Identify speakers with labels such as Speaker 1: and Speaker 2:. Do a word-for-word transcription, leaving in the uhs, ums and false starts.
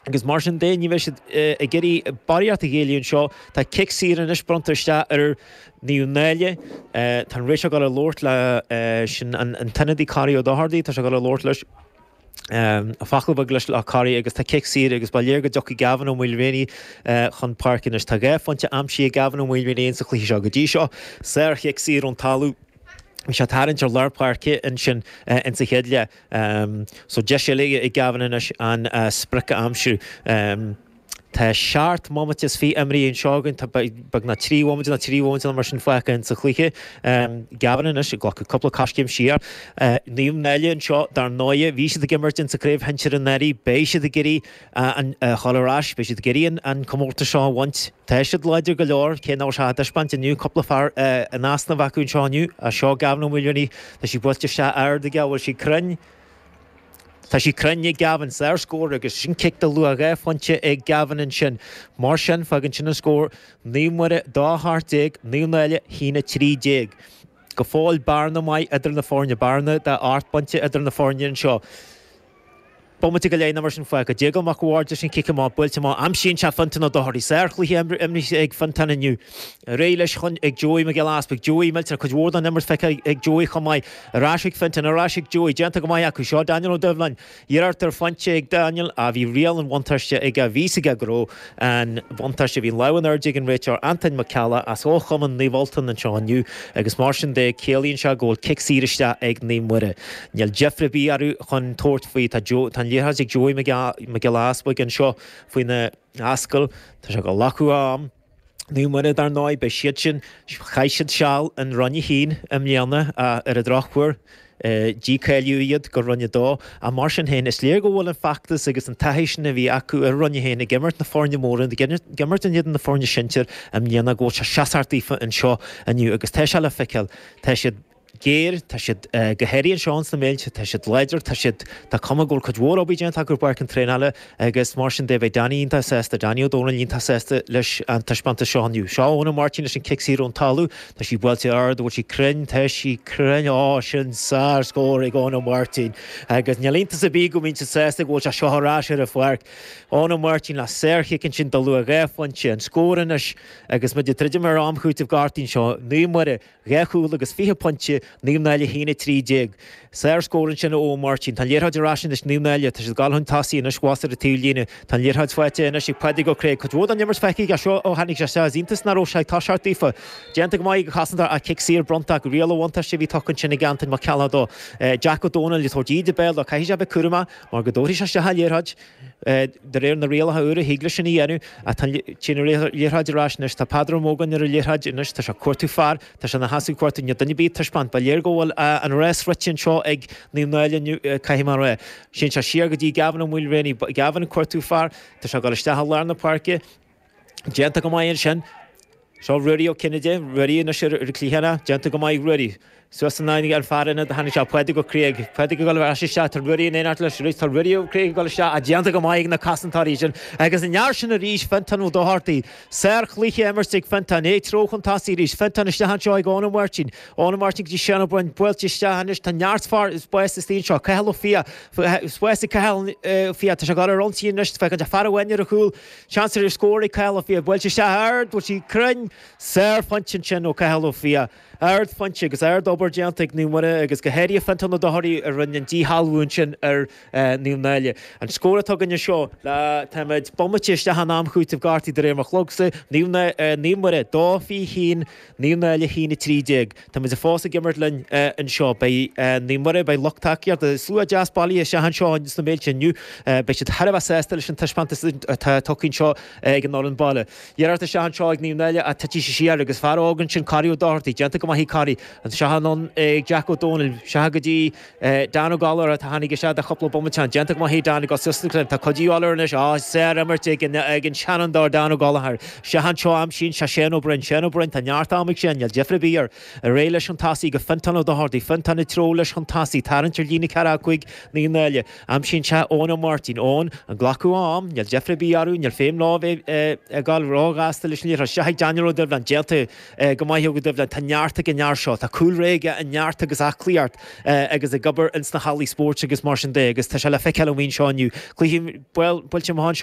Speaker 1: Agus mar sin de ní bheidh siad ag iarraidh barraíocht a ghéilleadh anseo. Tá cic saor anois bronnta isteach ar Naomh Náille. Tá an réiteoir ag dul ag labhairt le sin an t-ionadaí Corey Ó Dochartaigh, tá sé ag dul ag labhairt leis. Focal beag leis le Corey agus tá cic saor agus ba léir go dtiocfaidh Gavin Ó Maoilréanaí chun páirce anois. Tá dhá phointe aimsithe ag Gavin Ó Maoilréanaí insa chluiche seo go dtí seo. Sár-chic saor ón talamh. Bhí sé ag tarraingt ar lár páirce ansin insa chéad leath. So deis eile ag Gavin anois an sprioc a aimsiú. Tá seacht mbomaite is fiche imrithe anseo againn, tá beagnach trí bhomaite nó trí bhomaite nó mar sin fágtha insa chluiche. Gavin anois ag glacadh cúpla coiscéim siar. Naomh Náille anseo, dar ndóigh, bhí siad ag imirt insa chraobh shinsir anuraidh, beidh siad ag iarraidh a dhul ar ais, beidh siad ag iarraidh an comórtas seo a bhaint. Tá siad láidir go leor, cé nach bhfuil sé á dtaispeáint inniu, cúpla fear in easnamh acu anseo inniu. Seo Gavin Ó Maoilréanaí, tá sí buailte isteach ard aige, bhfuil sí cruinn? Tá sí cruinn ag Gavin, sár-scór agus sin cic de luach dhá phointe ag Gavin ansin. Mar sin, fágann sin an scór, Naomh Muire dó a hocht déag, Naomh Náille a haon a trí déag. Go fóill bearna maith idir na foirne, bearna de ocht bpointe idir na foirne anseo. Bomaite go leith nó mar sin fágtha. Déagán Mac a' Bhaird leis an chic amach, buailte amach, aimsíonn sé Fionntán Ó Dochartaigh. Sárchluiche imrithe ag Fionntán inniu. Ar aghaidh leis chun ag Joey Mac Giolla Easpaig. Joey millteanach, cuid mhór den imirt feicthe ag Joey chomh maith. Ar ais ag Fionntán, ar ais ag Joey. Déanta go maith acu. Seo Daniel Ó Doibhleáin. Iarracht ar phointe ag Daniel. Á bhí riail an bhuntáiste aige. Bhí 'fhios aige go raibh an bhuntáiste. Bhí an lámh in airde ag an réiteoir Antain Mac Ceallaigh as ó Chumann Naomh Ultan anseo inniu agus mar sin de ciallaíonn sé go bhfuil cic saor isteach ag Naomh Muire. Níl deifir ar bith orthu chun tabhairt faoi. Tá Joe, tá an liathróid ag Joey Mac Giolla Easpaig anseo faoina ascaill. Tá sé ag glacadh am. Naomh Muire dar ndóigh, beidh siad sin, chaith siad seal in Roinn a haon i mbliana ar an drochuair, dícháilíodh iad go Roinn a dó. Ach mar sin féin, is léir go bhfuil an feachtas agus an taithí sin a bhí acu ar Roinn a haon ag imirt na foirne móra, ag imirt in éadan na foirne sinsir i mbliana, go bhfuil sé seasmhach daofa anseo inniu agus tá sé le feiceáil. Tá siad géar, tá siad go háirithe anseo ins na Méilte, tá siad láidir, tá siad, tá cuma go bhfuil cuid mhór obair déanta acu ar bpáirc an traenála agus mar sin de beidh Danny iontach sásta, Danny Ó Dónaill iontach sásta leis an taispeántas seo inniu. Seo Eoin Ó Máirtín leis an cic saor ón talamh, tá sí buailte ard, bhfuil sí cruinn, tá sí cruinn, á sin sár-scór ag Eoin Ó Máirtín agus níl iontas ar bith go mbíonn siad sásta go bhfuil sé seo ar ais ar an pháirc. Eoin Ó Máirtín le sárchic ansin de luach dhá phointe, an scór anois agus muid ag druidim ar am chúitimh gortaithe anseo, Naomh Muire, Dhá chúl agus fiche pointe, Naomh Náille a haon a trí déag. Sár-scór ansin ó Eoin Máirtín. Tá an liathróid ar ais anois Naomh Náille. Tá siad ag dul chun tosaigh anois abhus ar an taobhlíne. Tá an liathróid faighte anois ag Pádraig Ó Creag. Cuid mhór den imirt feicthe aige seo ó tháinig sé isteach. Is iontach nach raibh sé ag toiseacht daofa. Déanta go maith ag an chosantóir ach cic saor bronnta acu. Riail an bhuntáiste a bhí tugtha ansin ag Antain Mac Ceallaigh dó. Jack Ó Dónaill ag tabhairt íde béil dó. Caithfidh sé a bheith cúramach mar go dtabharfaidh sé isteach an liathróid. De réir na rialacha úra, thig leis sin a dhéanamh ach tá an liathróid ar ais anois. Tá Peadar Ó Mógáin ar an liathróid anois. Tá sé ag cuartú fear. Tá sé ina sheasamh ag cuartú. Níl duine ar bith ag taispeáint. Ba léir go bhfuil an rás rite anseo ag Naomh Náille inniu, caithfidh mé a rá. Síneann sé siar go dtí Gavin Ó Maoilréanaí. Gavin ag cuartú fear. Tá sé ag dul isteach i lár na páirce. Déanta go maith ansin. Seo Ruairí Ó Cinnéide, Ruairí anois ar an cliathán, déanta go maith Ruairí. Suas in aghaidh an fear ionaid a tháinig sé, Pádraig Ó Creag. Pádraig ag dul ar ais isteach, tá Ruairí in éineacht leis arís, tá Ruairí Ó Creag ag dul isteach, ach déanta go maith ag na cosantóirí sin. Agus an fhear sin arís, Fiontán Ó Dochartaigh. Sár-chluiche imirte ag Fiontán, é ag treabhadh chun tosaigh arís. Fiontán isteach anseo ag Eoin Ó Máirtín. Eoin Ó Máirtín go dtí Seán Ó Broin, buailte isteach anois, tá neart fear, spás istigh anseo, Cathal Ó Fiaich, spás ag Cathal Ó Fiaich, tá sé ag dul ar ionsaí anois, féachann sé fear amháin ar a chúl, Seans ar scór ag Cathal Ó Fiaich. Buailte isteach ard, bhfuil sí cruinn? Sárphointe ansin ó Cathal Ó Fiaich. Ardphointe agus ardobair déanta ag Naomh Muire agus go háirithe Fiontán Ó Dochartaigh a rinne an díshealbhú ansin ar Naomh Náille. An scór atá againn anseo le táimid bomaite isteach in am chúitimh gortaithe de réir mo chlogsa, Naomh Muire dó fiche haon, Naomh Náille a haon a trí déag. Táimid fós ag imirt linn anseo. Beidh Naomh Muire, beidh lucht tacaíochta, slua deas bailithe isteach anseo sna Méilte inniu. Beidh siad thar a bheith sásta leis an taispeántas atá tugtha anseo ag an fhoireann baile. Iarracht isteach anseo ag Naomh Náille ach titfidh sí siar agus fear óg ansin, Corey Ó Dochartaigh, déanta go maith ag Corey. Anseo anonn ag Jack Ó Dónaill, isteach go dtí Dan Ó Gallchóir atá tháinig isteach do chúpla bomaite ann. Déanta go maith ag Dan ag dul suas na cloigne. Tá cuid de dhíobháil air anois. Á, sár-imirt ag an seanfhondúir Dan Ó Gallchóir. Isteach anseo aimsíonn sé Shane Ó Broin. Shane Ó Broin, tá neart ama ag Shane, níl deifir ar bith air. Ar aghaidh leis chun tosaigh go Fiontán Ó Dochartaigh. Fiontán ag treabhadh leis chun tosaigh. Tarraingt ar líne ceathracha cúig Naomh Náille. Aimsíonn sé Eoin Ó Máirtín. Eoin, ag glacadh a am, níl deifir ar bith orthu, níl feidhm leo bheith ag dul róghasta leis an liathróid. Isteach ag Daniel Ó Doibhleáin. Déanta go maith ag Ó Doibhleáin. Tá neart ag an fhear seo. Tá cúlra aige i neart agus aclaíocht agus ag obair ins na hallaí spóirt agus mar sin de agus tá sé le feiceáil an bhliain seo inniu. Cluiche buailte amach anseo.